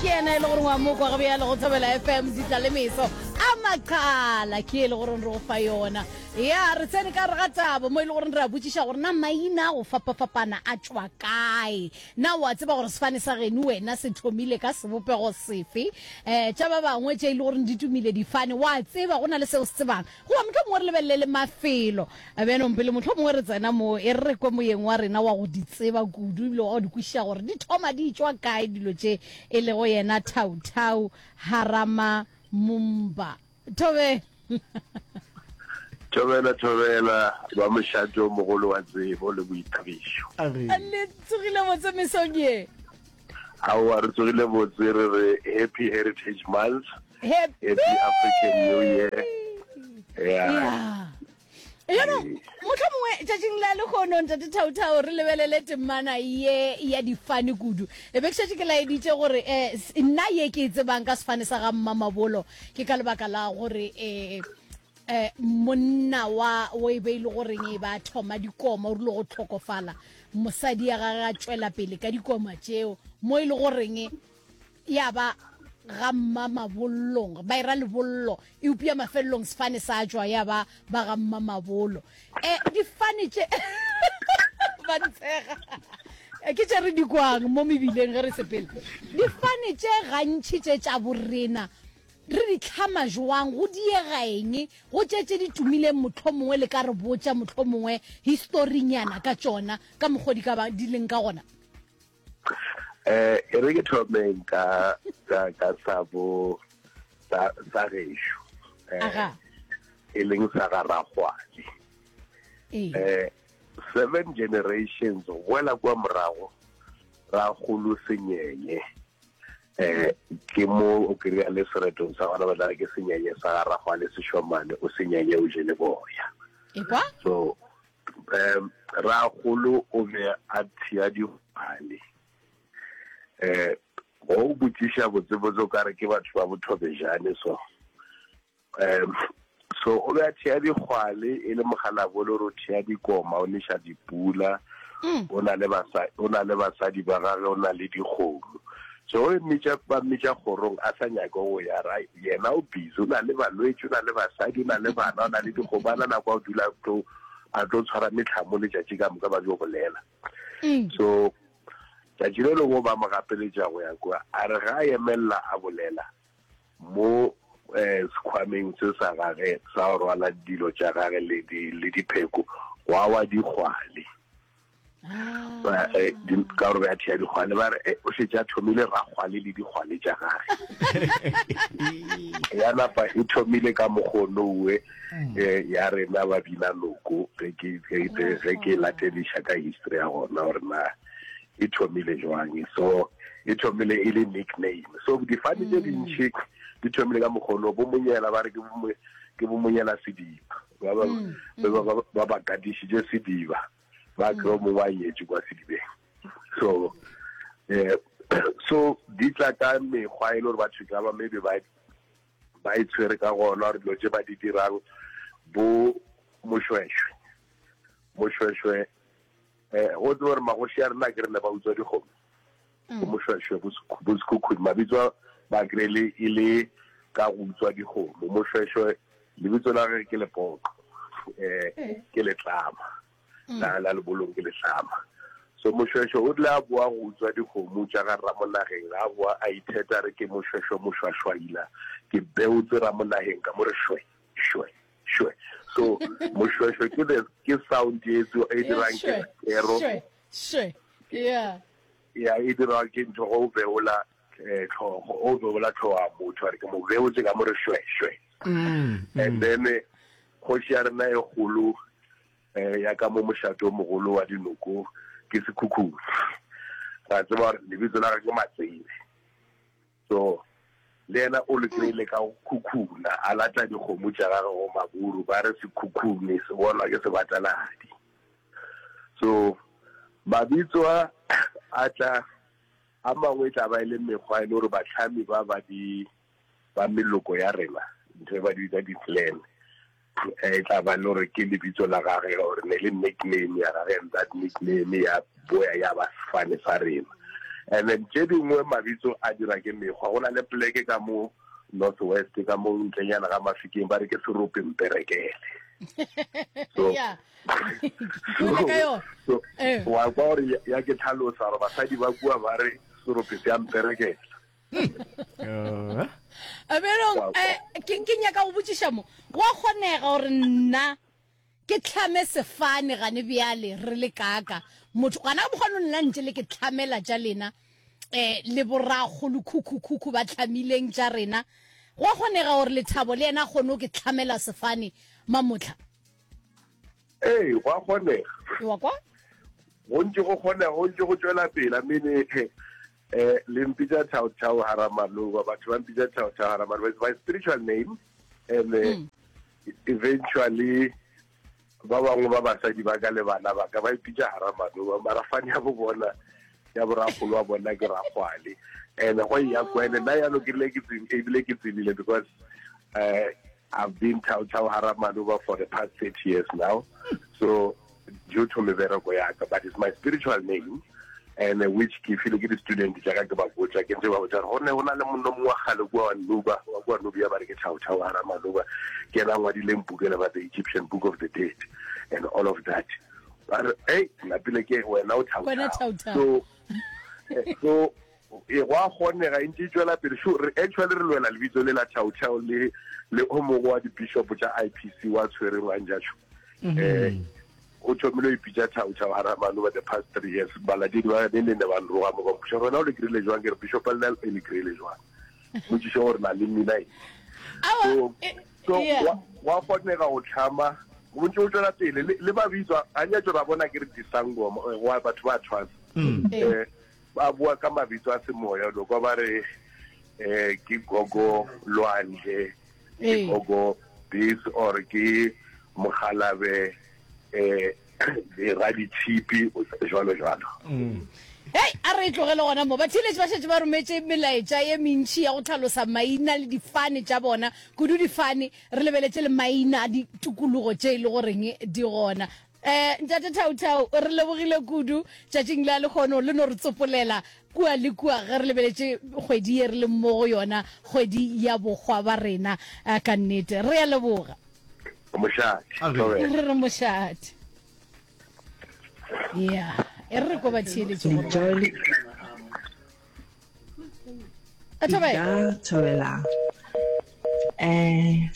Ke yena e le gore wa mokwa ga bjale go Thobela FM ditla le meso a maqala ke e le gore re go fa yona. Ya re tsene ka re ga taba mo e le gore re a botšiša gore na maina a go fapafapana a tšwa kae. Na o a tseba gore sefane sa geno wena se thomile ka sebopego sefe? Um tša ba bangwe tše e le gore di tumile difane wa tseba go na le seo se tsebang? Goba mohlomongwe re lebelele le mafelo. Bjanong pele mohlomongwe re tsena mo, e re re kwe moyeng wa rena wa go di tseba kudu ebile wa go di kwešiša gore di thoma di tšwa kae dilo tše, e lego yena Thau-Thau Harama Mumba. Thobela. Thobela, thobela, ba mošate o mogolo wa tsebo le boithabišo. Le tsogile botse mesong ye? Aowa, re tsogile botse, re re Happy Heritage Month. Happy, Happy African New Year. Yeah. Yeah. Jaanong mohlomongwe tšatšing la lekgono ntate Thauthau re lebelele temana ye ya difane kudu. E be ke šetše ke laeditše gore um nna ye ke e tsebang ka sefane sa ga Mmamabolo ke ka lebaka la gore um um monna wa o e be e le goreng e ba thoma dikoma o rile go tlhokofala mosadi ya gage a tšwela pele ka dikoma tšeo mo e le goreng ya ba ga mmamabollong ba era lebollo eupša mafelelong sefane sa tšwa ya ba ba ga mmamabolo um difane tše ba ntshega eh, ke tše re di kwang mo mebileng ge re sepela difane tše gantši tše tša borena re di tlhama jwang go diega eng go tše tše di tumileng mohlomongwe le ka re botša mohlomongwe historinyana ka tšona ka mokgwa di ka ba di leng ka gona Eh, e re ke thomeng ka ka ka sa bo sa sa gešo. Eh, Aga. e leng sa ga Ragwale. Ee. Eh, seven generations go boela kwa morago Ragolo Senyenye. Eh, ke mo o kry-a le seretong sa gona ba tla re ke Senyenye sa ga Ragwale Sešomane o Senyenye o jele boya. Ekwa? So um ragolo o be a thea dikgwale um go o botšiša botsebotse o ka re ke batho ba bothobejane so um so o be a thea dikgwale e le mogalabolo gore o thea dikoma o neša dipula mm. o na le basadi o na le basadi ba gage o na le dikgomo so o mmitša ba mmitša kgorong a sa nyake go ya ra yena o busy o na le balwetši o na le basadi o na le bana o na le dikgomo a na nako a o dula tlo a tlo tshwara metlhamo letšatši ka moka ba jo bolela mm. so tšatši le lengwe ba mo gapeletša go ya kua a re ga a emelela a bolela mo um sekhwameng se sa gage sa go rwala dilo tša gage le dipheko gwa wa digwale Ba, eh, di- ka gore be a thea dikgwale ba re eh, o šetše a thomile rakgwale le dikgwale tša gage ya napa e thomile ka mokgonowe eh, ya rena ba bina noko ge ke ge ke- ge ke latediša ka history ya gona gore na e thomile jwang so e thomile e le nickname so difane tše dintši di thomile ka mokgono bo monyela ba re ke bo mo- ke bo monyela sediba ba ba ba ba- ba ba katišitše sediba ba kry mongwe a nyetše kwa sedibeng so eh so di tla ka mekgwa e le gore batho ka ba maybe ba ba e tshwere ka gona gore dilo tše ba di dirang bo mošwešwe mošwešwe eh go tseba gore magoši a rena ke re ne ba utswa dikgomo mm. bo mošwešwe bo sekhukhune mabitso ba kry-le e le ka go utswa dikgomo mošwešwe lebitso la gage ke lepoqo um ke letlama mm. la la lebolong ke letlama so mošwešwe o rile a boa go utswa dikgomo tša ga ramonageng a boa a itheta re ke mošwešwe mošwašwaila ke beotse ramonageng ka mo re shwe shwe shwe so mošwešwe ke the ke sound e e dirang ke kero shwe yeah ya e dirwa ke ntho go beola eh, tlhogo o beola tlhogo ya motho a re ke mo beotse ka mo re shwe shwe mm, mm. and then eh, kgoši ya rena e kgolo um ya ka mo mošate o mogolo wa dinoko ke sekhukhung ra tseba gore lebitso la gage ke matsebe so le yena o le kry-ile ka go khukhuna a lata dikgomo tša gage go maburu ba re sekhukhune se bonwa ke sebataladi so mabitso a a tla a mangwe e tla ba e le mekgwa e le gore batlhami ba ba di ba meloko ya rena ntho e ba di bitsa di-clan e tla ba le gore ke lebitso la gage gore ne le nickname ya gage and that nickname ya boya ya ba sefane sa rena. And then tše dingwe mabitso a dira ke mekgwa. Go na le poleke ka mo North West ka mo ntlenyana ga Mafikeng ba re ke Serope Mperekele. So, yeah. so, so eh. wa kwa gore ya ke tlhalosa gore basadi ba kua ba re serope se a mperekela. Bjalo, eh, ke ke nyaka go botšiša mo, gwa kgonega gore nna ke tlhame sefane gane bjale re le kaka motho gana mokgwa no nna ntše le ke tlhamela tša lena eh le borakgolo khukhu-khukhu ba tlhamileng tša rena gwa kgonega gore lethabo le yena a kgone go ke tlhamela sefane mamotlha Ee, gwa kgonega. Wa kwa? Go ntše go kgonega, go ntše go tšwela pele. I mean, eh, le mpitša Chao Chao Haramaloba, batho ba mpitša Chao Chao Haramaloba. It's my spiritual name. And eh, mm. eventually, ba bangwe ba basadi ba ka le bana ba ka ba ipitša Haramaloba, mara fane ya bo bona ya boragolo wa bona ke ragwale. And go ya kwa ene nna yalo ke rile ke ebile ke tsebile because uh, I've been Chao Chao Haramaloba for the past 30 years now. So due to mebereko ya ka, but it's my spiritual name and uh, which ke file ke di-student tša ka ke ba botša ke ntse ba botša gore go ne go na le monno mongwe wa kgale kua wa Nuba wa kua Nubia ba re ke Chao Chao Haramaloba ke ena a ngwadileng buka ele ba the Egyptian Book of the Dead and all of that ba re ei napile ke wena o Chao Chao so eh, so E, go a kgonega, e ntše e tšwela pele. Sure, re, actually re lwela lebitso le la Chau Chau le, le o mongwe wa di-bishop tša IPC wa tshwereng wa Njacho. Mm -hmm. Eh, o thomile o ipitša Chau Chau Haramane over the past three years. Balatedi ba ne ne ba nroga mo ba mpotša gore wena o le kry-ile jwang, ke re bishop le nna e le kry-ile jwang. Potšišo gore na le mmina eng. So, eh, so wa kgonega go tlhama go ntse go tswela pele le, le mabitso a nyatso ra bona ke re disangoma eh, wa batho ba tshwasa mm. eh Ba bua ka mabitso a semoya, lo kwa ba re eh ke gogo lwandle, ke gogo this or ke mogalabe eh raditshipi jwalo jwalo. Mm. Hei, a re e tlogele gona mo. Batheeletši ba šetše ba rometše melaetša ye mentši ya go hlalosa maina le difane tša bona, kudu difane, re lebeletše le maina a ditikologo tše e le goreng di gona. Eh, Ntate Thauthau, re lebogile kudu tšatšing la lehono le no re tsopolela kua le kua ge re lebeletše kgwedi ye re leng mo go yona, kgwedi ya bohwa ba rena. Eh, ka nnete re a leboga. Mošate. Re re mošate. Ya, e re re ko ba theeletše gore. Nka thabela um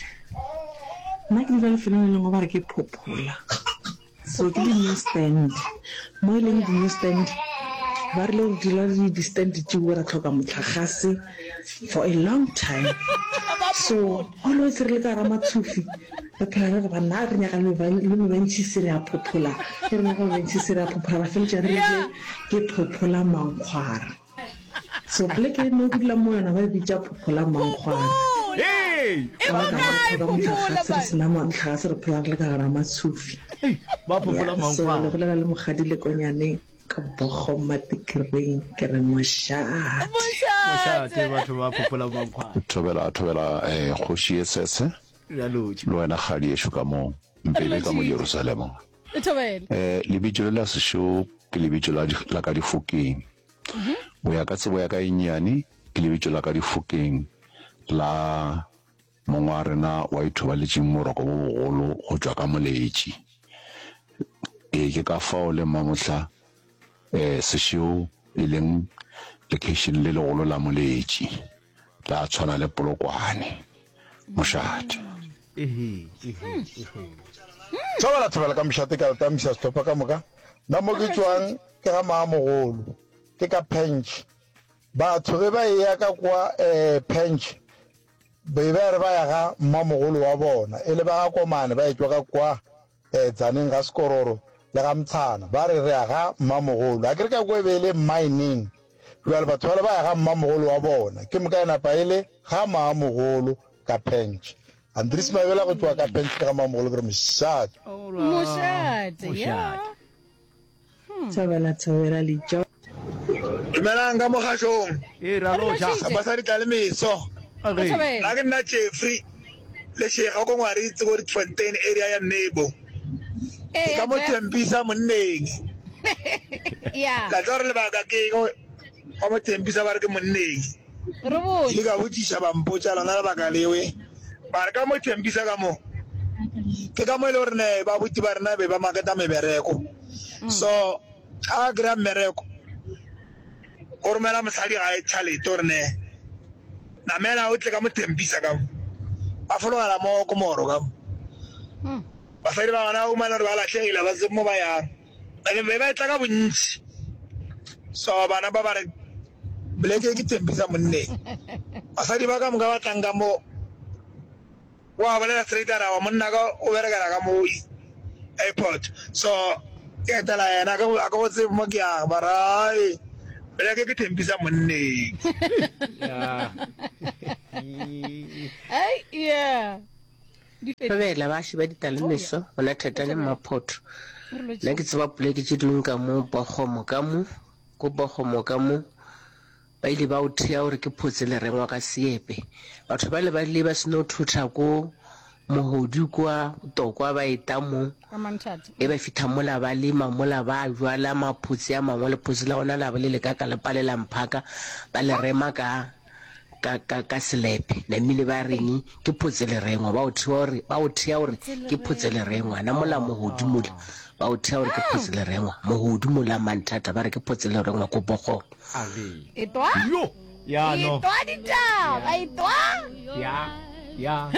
nna ke dula lefelong le lengwe ba re ke Phophola so ke di-new stand mo e leng di-new stand ba rile re dula le di-stand tšeo ra tlhoka motlakgase for a long time so always re le ka gara matshofi re phela re re banna re nyaka le mebentšhisi re a phophola re nyaka mebentšhisi re a phophola ra feletša re rile ke phophola mankgwara So poleke e mo ke dulang mo yona ba e bitša Phophola Mankgwara. Hey! Ka baka la go tlhoka motlakgase re sena motlakgase re phela re le ka gara matshofi. Ba Phophola Yeah, so Mankgwara. le bolela le Mokgadi Lekonyane ka Bogo Matikereng ke re mošate. Mošate batho ba Phophola Mankgwara. Thobela thobela eh kgoši ye sese Re a lotšha. le wena kgadi yešo ka mo mpebe ka mo Jerusalema. Eh lebitso le la sešo ke lebitso la la ka difokeng. Go ya ka tsebo ya ka e nnyane, ke lebitso la ka difokeng la mong wa rena wa ithobaletšeng boroko bo bogolo go tšwa ka moletši. Ee, ke ka fao le mmamohla um sešeo e leng lekeišene le legolo la moletši, la tshwana le Polokwane, mošate. Thobela thobela ka mošate ka letamisa sehlopha ka moka. Nna mo ke tšwang ke ga maamogolo, ke ka Pench. Batho ge ba eya ka kwa eh, Pench, be ba re ba ya ga mmamogolo wa bona, e le ba ga Komane ba etšwa ka kwa eh, Tzaneen ga Sekororo le ga Mtshana, ba re re ya ga mmamogolo. A ke re ka kwa e be e le mining, bjale batho bale ba ya ga mmamogolo wa bona, ke moka e napa e le ga maamogolo ka Pench. Andries Mabela go tšwa ka Pench ke ga maamogolo ke re mošate. Mošate, yeah. Thobela thobela lijo. Dumelang ka mogašong. Ee, ra lotšha. Basadi tla le meso. Nna ke nna Jeffrey Lešega ko Ngwaritse ko Rietfontein area ya Nebo. Ke ka mo Tembisa monneng. La tseba gore lebaka ke eng? Wa mo Tembisa ba re ke monneng. Re botše. Ke ile ka botšiša ba mpotša lona lebaka lewe. Ba re ka mo Tembisa ka mo ke ka mo e le gore ne ba buti ba rena be ba maketa mebereko. So ga a kry-a mmereko o romela mosadi gae tšhalete gore ne namela o tle ka mo Tembisa ka mo. Ba fologela mo Komoro ka mo. Basadi ba gona ba humana gore ba lahlegile ba tsebe mo ba yang. Ene be ba etla ka bontši. So bana ba ba re boleke ke Tembisa monneng. Basadi ba ka moka ba tlang ka mo wa bolela straight a re awa monna ka o berekela ka mo airport. So ke etela yena a ke go tsebe mo ke yang ba re ai boleke ke Tembisa monneng. Ai yeah. Thobela baaši ba Ditalemeso, gona Thatane Mmaphotho. Nna ke tseba poleke tše dingwe ka mo Bokgomo ka mo, ko Bokgomo ka mo, ba ile ba o thea gore ke Photse Lerengwa ka Seepe. Batho bale ba ile ba seno thotha ko Mogodu kwa Tokwa ba eta mo, e ba fitha mola ba lema mola ba jwala maphotse a mangwe, lephotse la gona la ba le le ka ka le palela mphaka, ba le rema ka ka, ka, ka selepe. Namile ba reng ke photselerengwa, ba o thea gore, ba o thea gore ke photselerengwa. Na mola mogodu mola, ba o thea gore ke photselerengwa. Mogodu mola manthata, ba re ke photselerengwa ko Bogong. Etwa? Yo! Ya no. Etwa ditaba, etwa? Ya, ya.